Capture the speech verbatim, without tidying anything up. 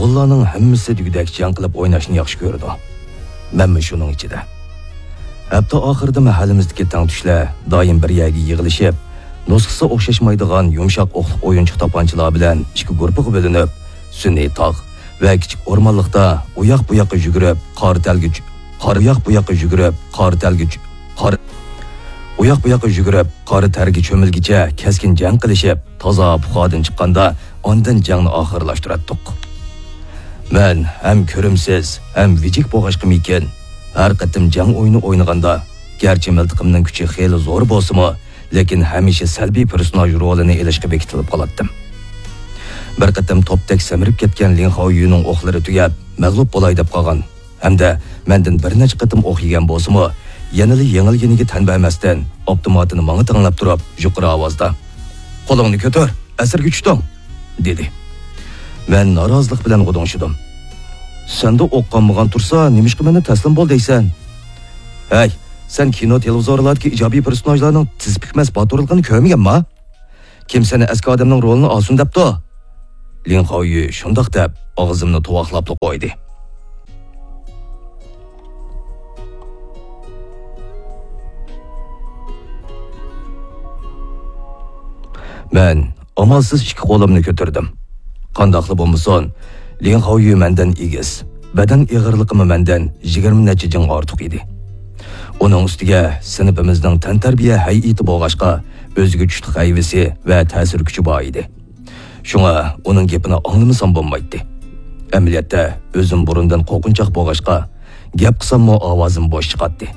بالىلارنىڭ ھەممىسى دېگۈدەك جەڭ قىلىپ ئويناشنى ياخشى كۆرىدۇ. مەنمۇ شۇنىڭ ئىچىدە. ھەپتە ئاخىرىدا مەھەللىمىزدىكى تەڭتۇشلار دائىم بىر يەرگە يىغىلىشىپ، نۇسخىسى ئوخشاشمايدىغان يۇمشاق ئوقلۇق ئويۇنچۇق تاپانچىلار بىلەن ئىككى گۇرۇپپىغا بۆلۈنۈپ، سۈنئىي تاغ ۋە كىچىك ئورمانلىقتا ئۇياق بۇياققا يۈگۈرۈپ، قارا تەرگە چۈ-، قارا ئۇياق بۇياققا يۈگۈرۈپ، قارا تەرگە چۈ-، قارا ئۇياق بۇياققا يۈگۈرۈپ، قارا تەرگە چۆمۈلگىچە كەسكىن جەڭ قىلىشىپ، تازا پۇخادىن چىققاندا، ئاندىن جەڭنى ئاخىرلاشتۇراتتۇق. مەن ھەم كۆرۈمسىز، ھەم ۋىجىك بولغاچقىمىكىن، ھەر قېتىم جەڭ ئويۇنى ئوينىغاندا، گەرچە مىلتىقىمنىڭ كۈچى خېلى زور بولسىمۇ، لېكىن ھەمىشە سەلبىي پېرسوناژ رولىنى ئېلىشقا بېكىتىلىپ قالاتتىم. بىر قېتىم توپتەك سەمرىپ كەتكەن لىڭ خاۋيۈنىڭ ئوقلىرى تۈگەپ، مەغلۇپ بولاي دەپ قالغان ھەمدە مەندىن بىر نەچچە قېتىم ئوق يېگەن بولسىمۇ، يەنىلا يېڭىلگىنىگە تەن بەرمەستىن، ئاپتوماتىنى ماڭا تەڭلەپ تۇرۇپ، يۇقىرى ئاۋازدا، «قولۇڭنى كۆتۈر، ئەسىرگە چۈشتۈڭ!» دېدى. مەن نارازىلىق بىلەن غۇدۇڭشىدىم. «سەندە ئوق قالمىغان تۇرسا، نېمىشقا مېنى تەسلىم بول دەيسەن؟ ھەي، سەن كىنو، تېلېۋىزورلاردىكى ئىجابىي پېرسوناژلارنىڭ تىز پۈكمەس باتۇرلۇقىنى كۆرمىگەنما؟ كىم سېنى ئەسكى ئادەمنىڭ رولىنى ئالسۇن دەپتۇ؟» لىڭ خاۋيۈ شۇنداق دەپ، ئاغزىمنى تۇۋاقلاپلا قويدى. مەن ئامالسىز ئىككى قولۇمنى كۆتۈردۈم. قانداقلا بولمىسۇن، لىڭ خاۋيۈ مەندىن ئېگىز، بەدەن ئېغىرلىقىمۇ مەندىن يىگىرمە نەچچە جىڭ ئارتۇق ئىدى. ئۇنىڭ ئۈستىگە سىنىپىمىزنىڭ تەنتەربىيە ھەيئىتى بولغاچقا، ئۆزىگە چۇتلۇق ھەيۋىسى ۋە تەسىر كۈچى بار ئىدى. شۇڭا ئۇنىڭ گېپىنى ئاڭلىمىسام بولمايتتى. ئەمەلىيەتتە ئۆزۈم بۇرۇندىن قورقۇنچاق بولغاچقا، گەپ قىلساممۇ ئاۋازىم بوش چىقاتتى.